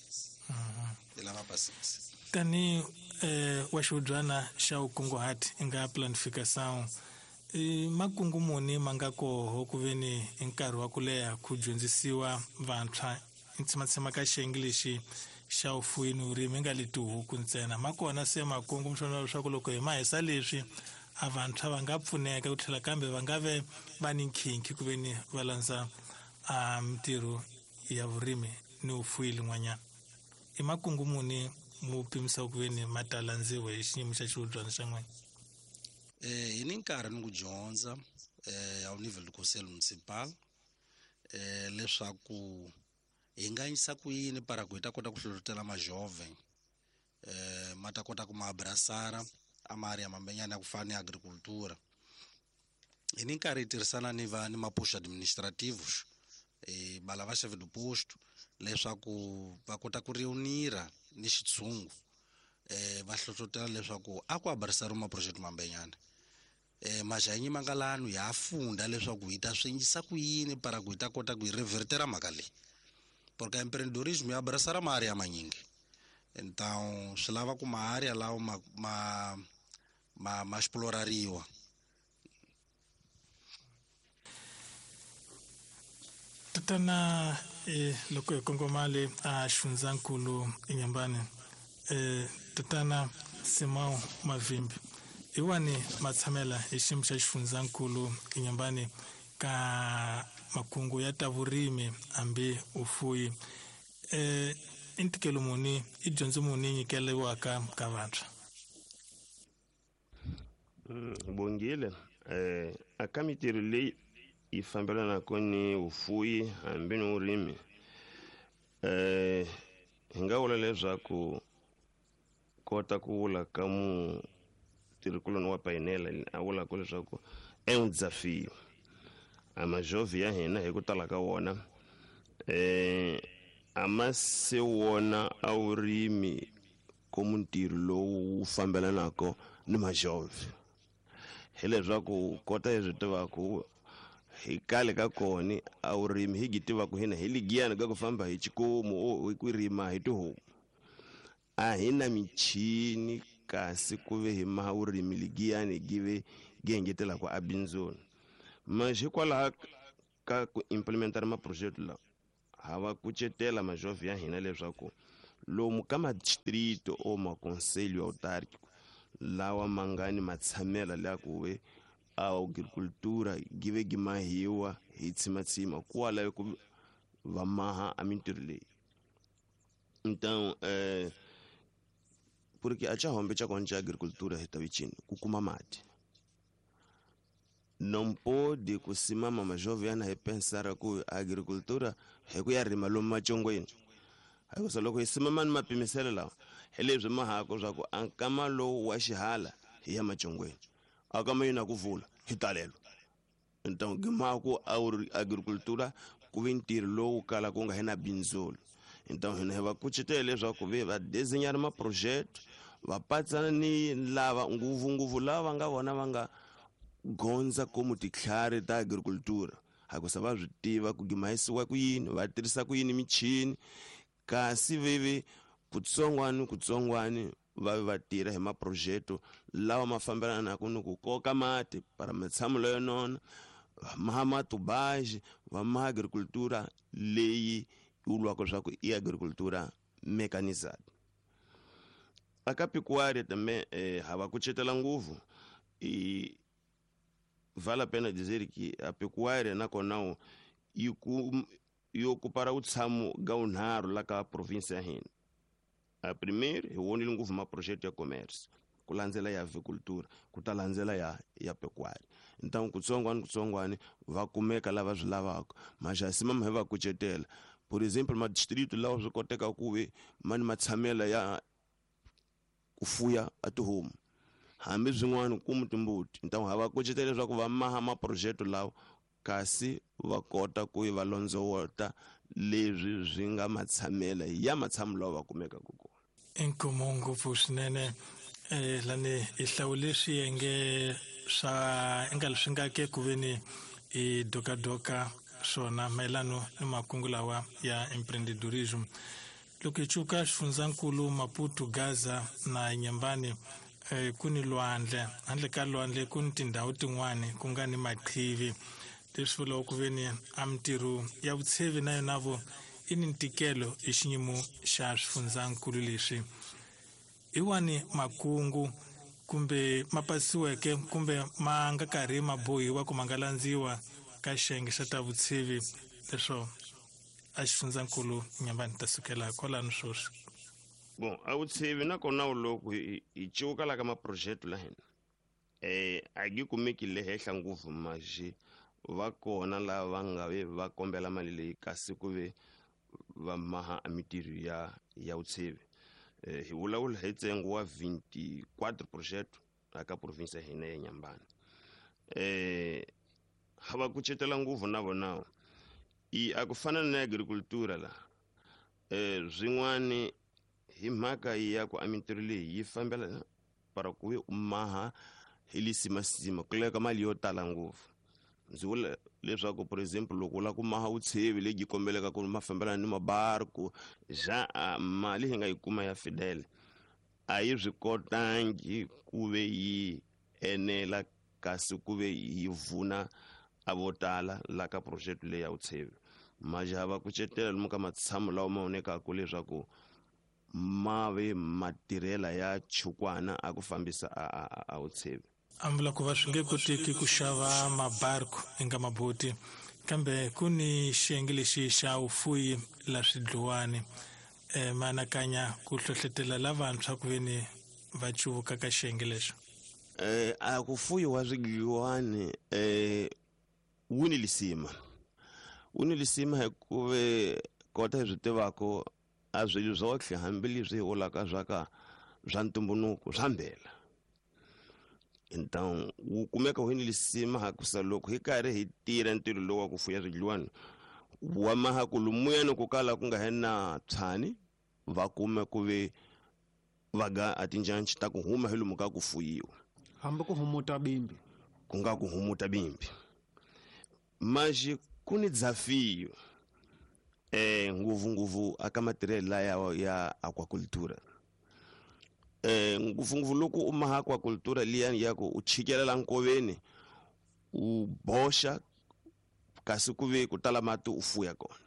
I lava paciência. Tani eh wa xiudyana xa ukunguhati i nga planificação i makungu muni ma nga koho ku ve ni i nkarhi wa ku leha ku dyondzisiwa vantshwa i tshematshema ka xiyenge lexi xa vufuwi ni vurimi nga le tihuku ntsena ma kona se makungu mi swona leswaku loko hi ma hisa leswi a vantshwa va nga pfuneka ku tlhela kambe va nga ve va ni nkhinkhi ku ve ni va landza a mintirho ya vurimi ni vufuwi lin'wanyana. I makungu muni mu pimisa ku ve ni ma ta landziwa hi xiyimo xa xiudyana xa n'wina? Eh hi ni nkarhi ni ku dyondza eh ao nível do conselho municipal eh leswaku hi nga yisa ku yini para ku hi ta kota ku hlohlotela majove eh ma ta kota ku ma abraçar a maarea mambenyana ya ku fana ni agricultura. Hi ni nkarhi hi tirhisana ni va ni maposto administrativos eh balava chefe do posto leswaku va kota ku reunira ni xitshungu eh va hlohlotela leswaku a ku abraçar maprojeto mambenyana. Eh majanyi mangalano ya funda leswaku hi ta swi endlisa ku yini para ku hi ta kota ku hi revertera mhaka leyi. Porque empreendedorismo ya abraçar maarea manyingi. Então swi lava ku maarea lawa ma ma ma, ma explorariwa. Tatana eh loko hi kongoma le a Xifundzankulu eNyambani eh tatana Simão Mavimbi hi wani matshamela hi xiyimo xa Xifundzankulu eNyambani ka makungu ya ta vurimi hambi ufuyi eh i ntikelo muni i dyondzo muni nyikeriwaka ka vantshwa? Bongile eh aka mintirho leyi yi fambelanaka ni vufuwi hambi ni vurimi eh hi nga vula leswaku kota ku vula ka mutirhikuloni wa payinela a vulaka leswaku é um desafio. A majove ya hina hi ku tala ka wona eh a ma se wona a vurimi como ntirho lowu wu fambelanaka ni majove. Hi leswaku kota hi swi tivaku hi kale ka kona a vurimi hi gi tivaku hina hi ligiyani ka ku famba hi xikomu hi ku rima hi tihomu. A hi na michini kasi ku ve hi ma vurimi ligiyani gi ve gi engetelaka a bindzuni. Mas hikwalaho ka ku implementar maprojeto lawa ha va kucetela majovhi ya hina leswaku lomu ka madistrito o maconselho autárquico lawa mangani matshamela la ku ve a agricultura give gi mahiwa hi tsimatsima kwala ku va maha a mintirho leyi. Então eh porque a chahombe cha koncha agricultura hi tavichini ku kuma mati não pode kusimama majovem ana repensar ku agricultura hi ku ya rima lomu machongweni hikusa loko hi simama ni mapimiselo lawa hi leswi mahako swa ku a nkama lowu wa xihala hi ya machongweni a kama yina ku vula hi talelo. Então gimaku agricultura ku ve ntirho lowu kala ku nga hi na bindzulu. Então hina hi va kucetela leswaku ve va desenhar maprojeto va patsana ni lava ngopfungopfu lava va nga vona va nga gondza como titlhari ta agricultura hakusa va swi tiva ku gimahisiwa ku yini va tirhisa ku yini michini kasi veve kutsongwani kutsongwani va va tirha hi maprojeto lawa ma fambelanaka ni ku koka mati para matshamo leyo nona va maha matubaji va maha agricultura leyi vulwaka swa ku i agricultura mecanizada. Aka pecuária também eh, ha va kucetela ngopfu e vale a pena dizer que a pecuária nakona yi ku yi ocupara o tshamo ga unharhu la ka província ya hina. A primeiro hi vonile ngopfu maprojeto ya comércio ku landzela ya avicultura ku ta landzela ya ya pecuária. Então kutsongwani kutsongwani va kumeka lava swi lavaka maxasi mama hi va kucetela. Por exemplo madistrito lawa swi koteka ku ve mani matshamela ya ku fuya a tihomu hambi swin'wana ku timbuti. Então ha va kucetela leswaku va maha maprojeto lawa kasi va kota ku va londzowota leswi swi nga matshamela ya matshamo lawa va kumekaka kona. Inkomo ngopfu swinene eh lani hi hlawule swiyenge swa nga leswi nga ke ku veni i dokadoka swona mayelano ni makungu lawa ya empreendedorism. Loko hi cuka xifundzankulu Maputo, Gaza na Nyambani eh, ku ni lwandle handle ka lwandle ku ni tindhawu tin'wani ku nga ni maqhivi leswi vulaka ku veni a mintirho ya vutshevi na yona vo i ni ntikelo hi xiyimo xa swifundzankulu leswi. Hi wani makungu kumbe ma pasiweke kumbe ma nga karhi ma bohiwa ku ma nga landziwa ka xiyenge xa ta vutshevi leswo a xifundzankulu Nyambani ta sukela kwalano sweswi. Bon a vutshevi nakona loko hi cuka la ka maprojeto la hina eh a gi kumeki le henhla ngopfu maxi va kona lava va nga ve va kombela mali leyi kasi ku ve va maha a mintirho ya ya vutshevi. Eh, hi vulavula hi ntsengo wa vinte e quatro projeto aka província ya hina ya Nyambani. Eh ha va kucetela ngopfu na vona i a ku fana na agricultura la eh swin'wani hi mhaka ya ku a mintirho leyi yi fambela para ku ve u maha hi lisimasima ku leka mali yo tala ngopfu. Ndzi vula leswaku por exemplo loko u lava ku maha vutshevi lebyi kombeleka ku ma fambelana ni mabarku ja mali hi nga yi kuma ya Fidel a yi swi kotangi ku ve yi enela kasi ku ve yi vuna a vo tala la ka project leyi ya vutshevi. Majaha va kucetela lomu ka matshamo lawa ma vonekaka leswaku ma ve matirhela ya chukwana a ku fambisa a, a, a vutshevi. A vula ku va swi nge koteki ku xava mabarku eka maboti kambe ku ni xiyenge lexi xa vufuyi la swidluwani e ma anakanya ku hlohletela lavantshwa ku veni va cuvuka ka xiyenge lexo. Eh a ku fuyiwa swidliwani eh wu ni lisima wu ni lisima hikuva kota hi swi tivaka a swilo swotlhe hambileswi hi vulaka swa ka swa ntumbuluko swa mbela. Então wu kumeka wu ni lisima hakusa loko hi karhi hi tirha ntirho lowu wa ku fuya swidliwani wa maha ku lumuyani ku kala ku nga he na tshani va kume ku ve va ga a tinjanci ta ku huma hi lomu ka ku fuyiwa hambi ku humuta bimbi ku nga ku humuta bimbi maxi ku ni desafio eh ngopfungopfu aka matirhelo laya ya aquacultura. Eh ngopfungopfu loko u maha aquacultura liyani ya ku u chikelela nkoveni u boxa Kasi ku ve ku tala mati u fuya kona.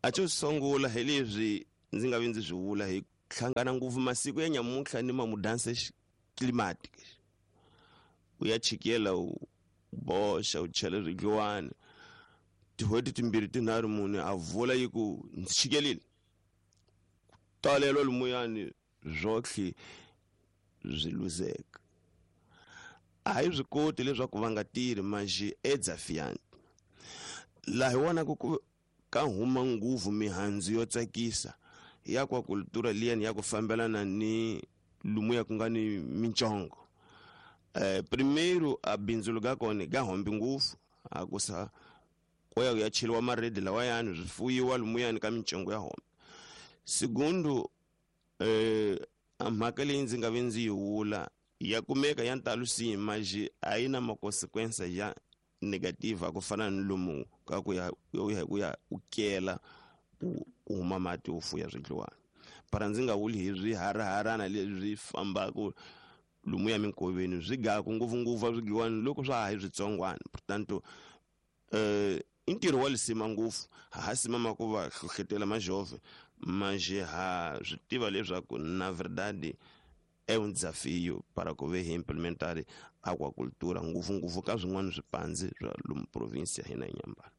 A xo sungula hi leswi ndzi nga vi ndzi swi vula hi hlangana ngopfu masiku ya nyamuntlha ni mamudanse climatic. U ya chikela u boxa u chela swidliwani tin'hweti timbirhi tinharhu mune a vula yi ku ndzi chikelile. Talelo lumuyani zwotlhe swi luzeka. A hi swi koti leswaku va nga tirhi manjhe e desafiante. Laha hi vonaka ku ka huma nguvu mihandzu yo tsakisa ya kwa kultura liyani ya ku fambelana ni lumuya ku nga ni minchongo. Eh, primeiro a bindzu ga kona ga hombi nguvu a ku sa ko ya ya cheliwa maredi lawayani swi fuyiwa lumuyani ka minchongo ya hombi. Segundo eh a mhaka leyi ndzi nga vi ndzi yi vula ya kumeka ya ntalo si manjhe a yi na makonsequences ya negativa ku fana ni lomu ka ku ya ku ya u kela u huma mati u fuya swidliwani. Para ndzi nga vuli hi swiharaharana leswi fambaka lomu ya minkoveni swi gaku ngopfungopfu swidliwani loko swa ha hi switsongwana. Portanto eh i ntirho wa lisima ngopfu ha ha simama ku va hlohletela majove manjhe ha swi tiva leswaku na verdade é um desafio para ku ve hi implementar aquacultura ngopfungopfu ka swin'wana swipandzi swa lomu province ya hina Inhambane.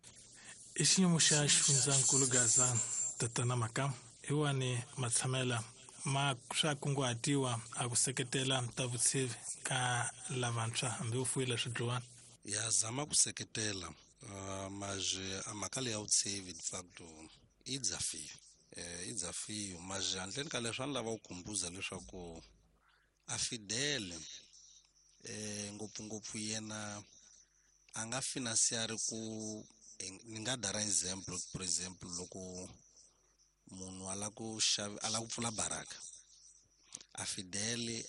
I xiyimo xa xifundzankulu Gaza tatana Makamu hi wani matshamela ma swa kunguhatiwa a ku seketela ta vutshivi ka lavantshwa hambi u fuyile swidliwani. Ya zama ku seketela uh, mas a mhaka leyi ya vutshivi de facto i desafio eh, i desafio mas handleni ka leswi a ni lava ku khumbuza leswaku a Fidel eh, ngopfungopfu yena a nga financiari ku ni nga dara example for example loko munhu a la ku xava a la ku pfula baraka a Fidel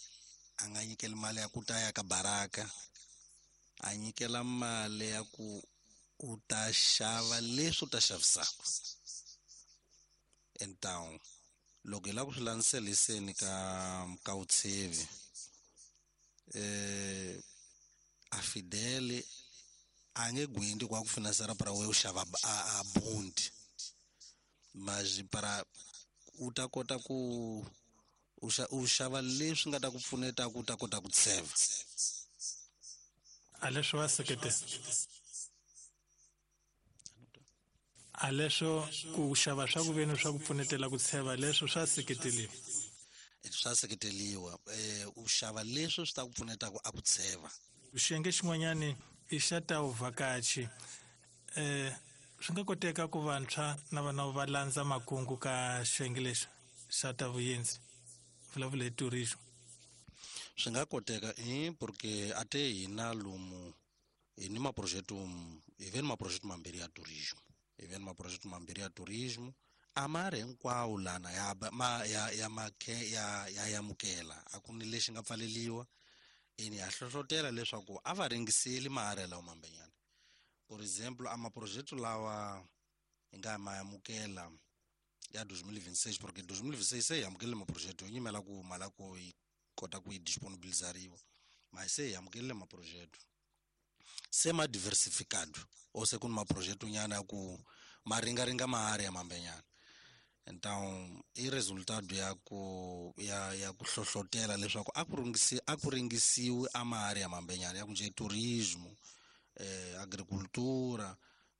a nga nyikeli mali ya ku ta ya ka baraka a nyikela mali ya ku u ta xava leswi u ta xavisaka. Então loko hi lava ku swi landzeliseni ka ka vutshivi eh a Fidel a nge gwindi kwa ku finansera para we u xava a, a bond mas para u ta kota ku u xava leswi nga ta ku pfuneta ku ta kota ku tseva. A leswo va seketela a leswo ku xava swa ku veni swa ku pfunetela ku tsheva leswo swa seketeliwa swa seketeliwa eh u xava leswo swi ta ku pfuneta ku a ku tsheva. Xiyenge xin'wanyani i xa ta vuvhakachi eh swi nga koteka ku vantshwa na vana va landza makungu ka xiyenge lexi xa ta vuyendzi vulavula hi tourism. Swi nga koteka eh porque a te hina lomu hi ni maprojeto hi ve ni maprojeto mambirhi ya tourism hi ve ni maprojeto mambirhi ya tourism a ma ri hinkwawo lana ya ma ya ya makhe ya ya yamukela a ku ni lexi nga pfaleliwa eni ya hlohlotela leswaku a va ringiseli maharela lawa mambenyana. Por exemplo a maprojeto lawa hi nga ma yamukela ya dois mil e vinte e seis porque dois mil e vinte e seis se hi amukelile maprojeto yo nyimela ku mali ku yi kota ku yi disponibilizariwa mas se hi amukelile maprojeto se ma diversificado ou se ku ni maprojeto nyana ya ku ma ringaringa mahari ya mambenyana. Então i resultado ya ku ya ya ku hlohlotela leswaku a ku ringisi a ku ringisiwi a mahari ya mambenyana ya ku nje turismo eh agricultura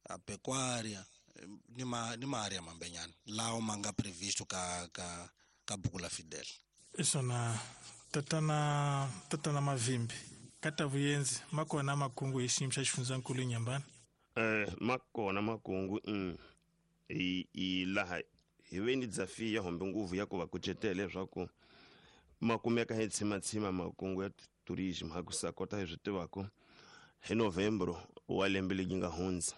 a pecuária ni ma ni mahari ya mambenyana lawa ma nga previsto ka ka ka buku la Fidel. Isona tatana tatana Mavimbi ka ta vuyenzi ma kona makungu hi xiyimo xa xifundzankulu Inhambane. Eh ma kona makungu mm i i laha hi ve ni desafio ya hombe nguvu ya ku va kucetela leswaku ma kumeka hi tshimatsima makungu ya tourism ha ku sa kota hi swi tivaka hi Novembro wa lembe leri nga hundza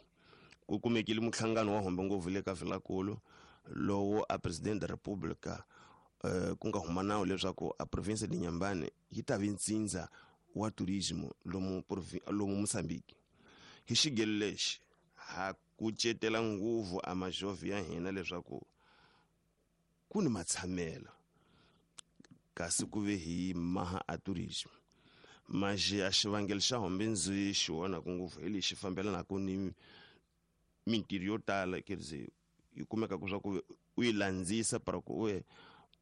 ku kumekile muhlangano wa hombe nguvu le ka Vilakulu lowu a president da República eh ku nga huma nawu leswaku a province de Inhambane yi ta vi ntsindza wa tourism lomu lomu Mozambique. Hi xigelo lexi ha kucetela nguvu a majove ya hina leswaku ku ni matshamelo kasi ku ve hi maha a tourism. Mas a xivangelo xa hombe ndzi xi vonaka ngopfu hi lexi fambelanaka ni mintirho yo tala, quer dizer, yi kumeka ku swa ku u yi landzisa para ku u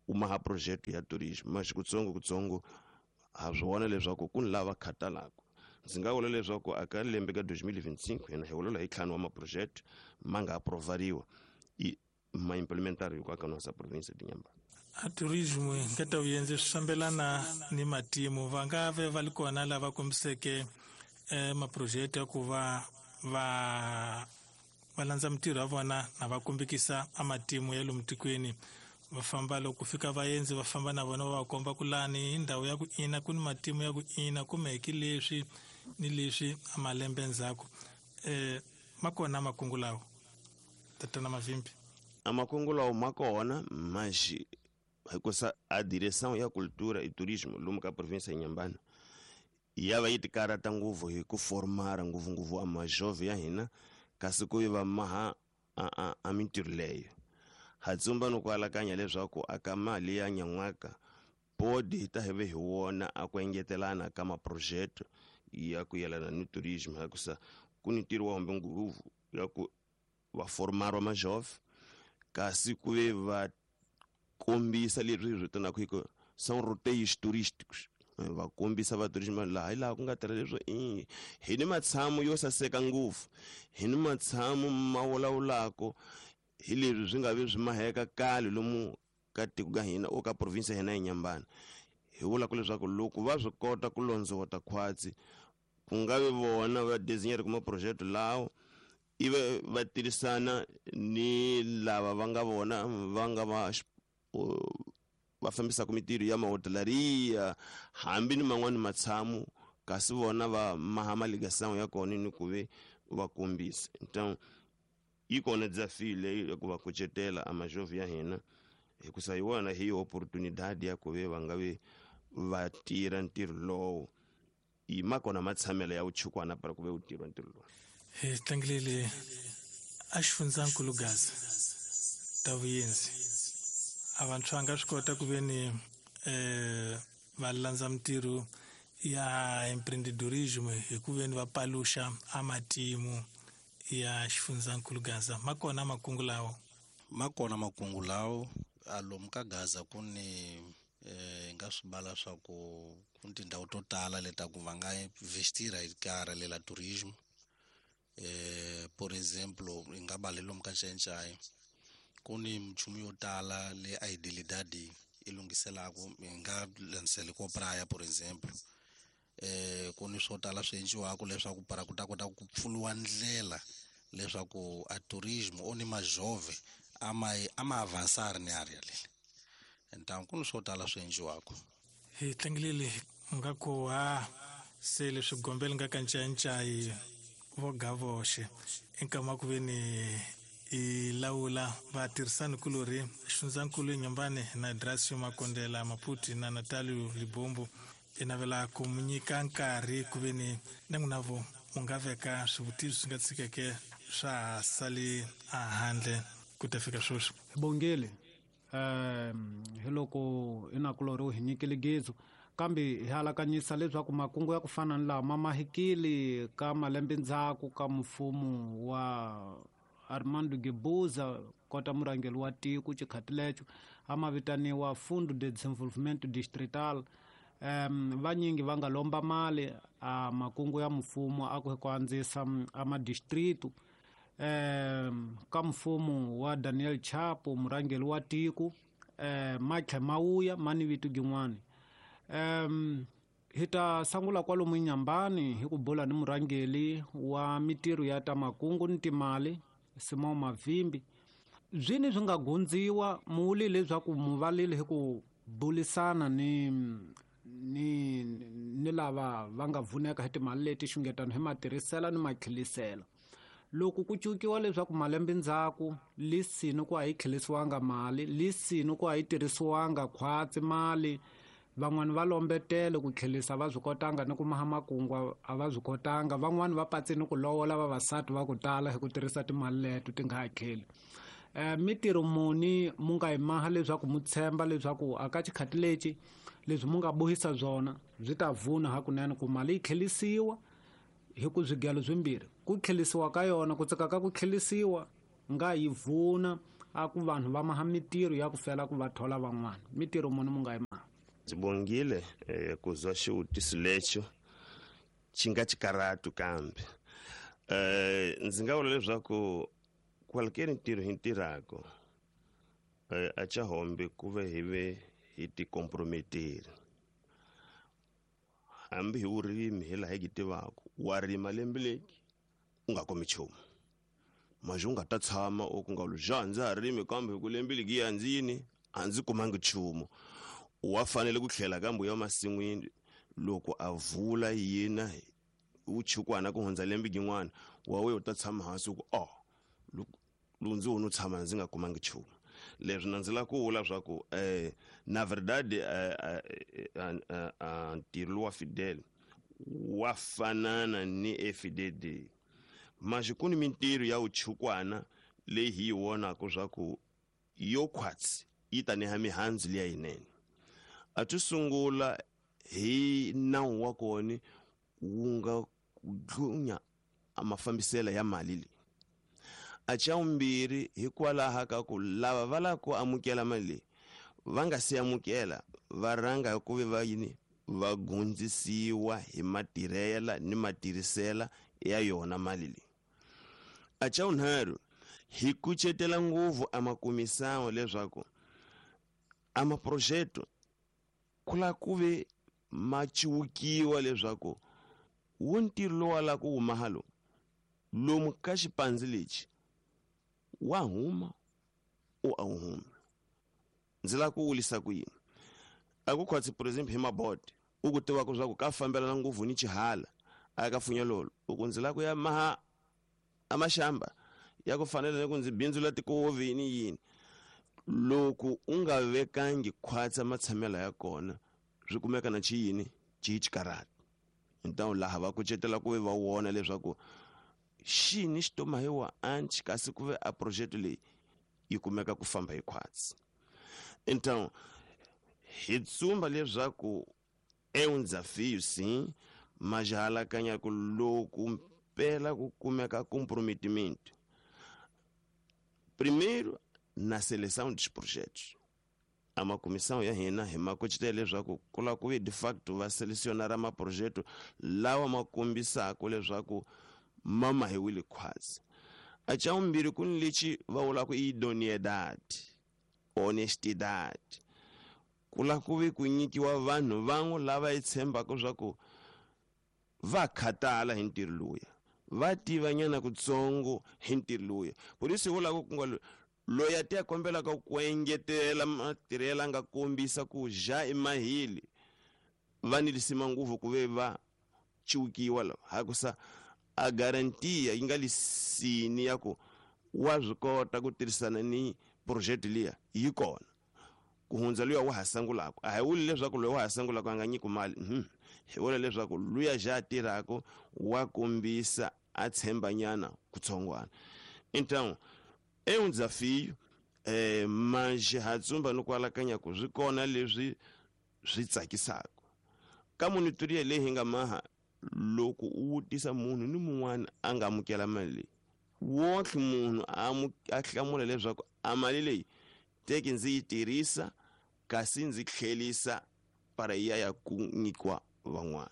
u maha projeto ya turismo. Mas kutsongo kutsongo ha swi vona leswaku ku ni lava khatalaka. Ndzi nga vula leswaku aka lembe ka dois mil e vinte e cinco hina hi vulavula hi ntlhanu wa maproject ma nga aprovariwa i ma implementariwa ka nossa província de Inhambane. A turismo nga ta vuyenzi swi fambelana ni matimu. Va nga ve va li kona lava kombiseke eh, maproject ya ku va va va landza mintirho ya vona na va kombekisa a matimu ya lomu tikweni. Va famba loko fika vaendzi va famba na vona va va komba ku lani hi ndhawu ya ku ina ku ni matimu ya ku ina kumbe leswi ni leswi a malembe ndzhaku. Eh ma kona makungu lawo tatana Mavimbi? A makungu lawo ma kona, mas hikusa a direção ya cultura e turismo lomu ka província ya Inhambane ya va yi tikarhata ngopfu hi ku formara ngopfungopfu a majove ya hina, kasi ku va maha a a a mintirho leyo. Ha tsumba no ku alakanya leswaku aka mali ya nyan'waka podi hi ta hi ve hi wona a ku engetelana ka maprojeto ya ku yelana ni turismo, hikusa ku ni ntirho wa hombe ngopfu ya ku va formara majove, kasi ku ve va kombisa leswi hi vitanaka hi ku são roteiros turísticos. Va kombisa va turismo laha hi laha ku nga tirha leswo i hi ni matshamo yo saseka ngopfu, hi ni matshamo ma vulavulaka hi leswi swi nga vi swi maheka kale lomu ka tiko ka hina o ka province ya hina ya Inhambane. Hi vulaka leswaku loko va swi kota ku londzovota khwatsi, ku nga vi vona va designer kuma project lawo, ivi va tirhisana ni lava va nga vona va nga va va fambisaka mintirho ya mahotelaria hambi ni man'wani matshamo, kasi vona va maha maligação ya kona ni ku ve va kombisa. Então yi kona desafio leyi ya ku va kucetela a majove ya hina, hikusa hi wona hi oportunidade ya ku ve va nga vi va tirha ntirho lowo. I ma kona matshamelo ya vuchukwana para ku ve u tirha ntirho lowu. Hi tlangilele a xifundzankulu Gaza ta vuyenzi. A vantshwa nga swi kota ku ve ni eh va landza mintirho ya empreendedorismo hi ku ve ni va paluxa a matimu ya xifundzankulu Gaza. Ma kona makungu lawo? Ma kona makungu lawo. A lomu ka Gaza ku ni eh nga swi bala swa ku ku ni tindhawu to tala leta ku va nga investira hi ka lela turismo. Eh por exemplo, hi nga bala lomu ka Nxayenxaye ku ni minchumu yo tala le a idilidadi i lunghiselaka, hi nga landziseli ko praia por exemplo. Eh ku ni swo tala swi endliwaka leswaku para ku ta kota ku pfuriwa ndlela leswaku a turismo o ni majove a ma a ma avançar ni area leyi. Então ku ni swo tala swi endliwaka. Hi tlangilele nga ku ha se leswi gombela nga ka Nxayenxaye vo gavoxe enkama ku ve ni i lawula vatirhisani kulorhi xifundzankulu Inhambane na Dracio Makondela Maputi na Natalio Libombo. I navela ku mu nyika nkarhi ku ve ni na n'wina vo u nga veka swivutiso swi nga tshikeke swa ha sali ehandle ku ta fika sweswi. Hi bongile um hi loko inakulorhi u hi nyikile gezu, kambe hi alakanyisa leswaku makungu ya ku fana ni lama ma mahikile ka malembe ndzhaku ka mfumo wa Armando Guebuza kota murhangeri wa tiko xikhati lexo a ma vitaniwa Fundo de Desenvolvimento Distrital. Um vanyingi va nga lomba mali a makungu ya mfumo a ku ku andzisa a madistritu. Um ka mfumo wa Daniel Chapo murhangeri wa tiko um ma tlhe ma wuya ma ni vito gin'wani. Um hi ta sungula kwalomu Inhambane hi ku bula ni murhangeri wa mintirho ya ta makungu ni timali Simão Mavimbi. Byini swi nga gundziwa muli leswaku muvalile hi ku bulisana ni ni ni lava va nga vuneka hi timali leti xungetano hi matirhisela ni matlhelisela. Loko ku cukiwa leswaku malembe ndzhaku lisini ku a yi tlhelisiwanga mali, lisini ku a yi tirhisiwanga khwatsi mali, van'wani va lombetele ku tlhelisa va swi kotanga ni ku maha makungu a va swi kotanga, van'wani va patsini ku lovola vavasati va ku tala hi ku tirhisa timali leto ti nga ha tlheli. um mitirho muni mu nga yi maha leswaku mu tshemba leswaku aka xikhati lexi leswi mu nga bohisa byona byi ta vuna hakunene ku mali yi tlhelisiwa hi ku swigelo swimbirhi ku tlhelisiwa ka yona ku tsaka ka ku tlhelisiwa nga yi vuna a ku vanhu va maha mitirho ya ku fela ku va thola van'wana mitirho muni mu nga yi maha. Ndzi bongile eh, ku zwa xivutiso lexo xi nga xikarhatu kambe eh, ndzi nga vula leswaku kwalukeni ntirho hi ntirhako eh, a xa hombe ku ve hi ve hi tikomprometeri hambi hi vurimi hi laha hi ki tivaka wa rima lembe leki u nga kumi nchumu maji u nga ta tshama u ku nga lu ja ndza ha rimi kambe hi ku lembe leki ya ndzi yini a ndzi kumangi nchumu wa fanele ku tlhela kambe ya masin'wini loko a vula yina u chukwana ku hundza lembe gin'wana wa we u ta tshama hansi ku oh lowu ndzi wona u tshama ndzi nga kumangi nchumu. Leswi na ndzi lava ku vula swa ku eh na verdade ntirho lowa Fidel wa fanana ni F D D maji ku ni mintirho ya vuchukwana leyi hi yi vonaka swa ku yo khwatsi yi ta neha mihandzu liya yinene. A to sungula hi nawu wa kona wu nga dlunya a mafambiselo ya mali leyi. A xa vumbirhi hikwalaho ka ku lava va lava ku amukela mali leyi va nga se amukela va rhanga hi ku ve va yini va gundzisiwa hi matirhela ni matirhisela ya yona mali leyi. A xa vunharhu hi kucetela ngopfu a makumisango leswaku a maprojeto ku lava ku ve ma ciwukiwa leswaku wu ntirho lowu wa lava ku huma halo lomu ka xipandzi lexi wa huma u a wu humi. Ndzi lava ku wulisa ku yini a ku khwatsi por exemple hi mabote u ku tivaka swa ku ka fambelana ngopfu ni xihala a ka funyelolo u ku ndzi lava ku ya maha a maxamba ya ku fanela ni ku ndzi bindzula tikovi ni yini loko u nga vekangi khwatsa matshamelo ya kona swi kumeka na xiyini xi xikarhati. Então laha va kucetela ku ve va wona leswaku xini xi tomahiwa anchi kasi ku ve a project leyi yi kumeka ku famba hi khwatsi. Então hi tsumba leswaku é um desafio sim, mas halakanya ku loko mpela ku kumeka comprometimento primeiro na seleção dos projetos. A uma comissão ya hina hi makucetela leswaku ku lava ku ve de facto va selecionar maprojeto lawa ma kombisaka leswaku ma mahiwile khwatsi. A xa vumbirhi ku ni lexi va vulaka idoneidade, honestidade. Ku lava ku ve ku nyikiwa vanhu van'we lava hi tshembaka swa ku va khatala hi ntirho luya va tivanyana kutsongo hi ntirho luya. Por isso hi vulaka ku nga loyi a ti a kombelaka ku engetela matirhelo a nga kombisa ku ja emahili va ni lisima ngopfu ku ve va ciwukiwa lava hakusa a garantiya yi nga lisini ya ku wa swi kota ku tirhisana ni project liya yi kona ku hundza luya wa ha sangulaka. A hi vuli leswaku loyi wa ha sangulaka a nga nyiki mali, hi vula leswaku luya ja a tirhaka wa kombisa a tshembanyana kutsongwana. Então é um desafio, eh, mas ha tsumba ni ku alakanya ku swi kona leswi swi tsakisaka ka monitoria leyi hi nga maha loko u vutisa munhu ni mun'wana a nga amukela mali leyi wonke munhu a hlamula leswaku a mali leyi teki ndzi yi tirhisa kasi ndzi tlhelisa para ya ya ku nyikiwa van'wana.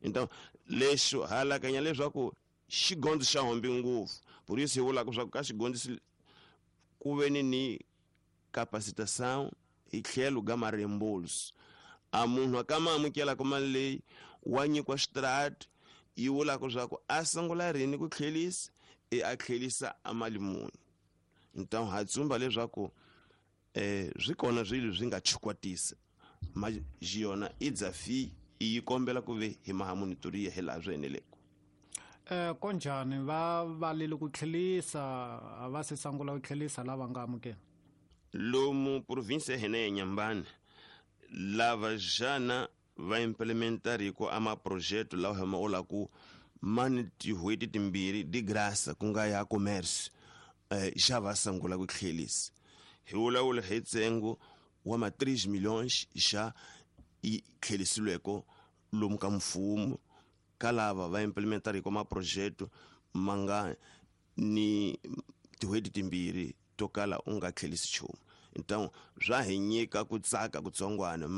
Então lexo halakanya leswaku xigondzo xa hombi ngopfu por isso hi vulaka swa ku ka xigondzo ku ve ni ni capacitação hi tlhelo ga mareembolso a munhu a ka ma amukelaka mali leyi wa nyikiwa xitrati yi vulaka swa ku a sungula rini ku tlhelisa e a tlhelisa a mali muni. Então ha tsumba leswaku eh swi kona swilo swi nga chukwatisa ma yona i desafio yi kombela ku ve hi maha monitoria hi laha swi eneleke. Eh konjhani va valile ku tlhelisa a va se sungula ku tlhelisa lava nga amukela lomu province ya hina ya Nyambane lava jana va implementariko a maprojeto lawa hi ma vulaku ma ni tin'hweti timbirhi de graça ku nga ya commerce eh, já va sungula ku tlhelisa. Hi vulavula hi ntsengo wa ma três milhões já yi tlhelisiweke lomu ka mfumo ka lava va implementariko maprojeto ma nga ni tin'hweti timbirhi to kala u nga tlhelisi nchumu. Então swa hi nyika ku tsaka kutsongwana.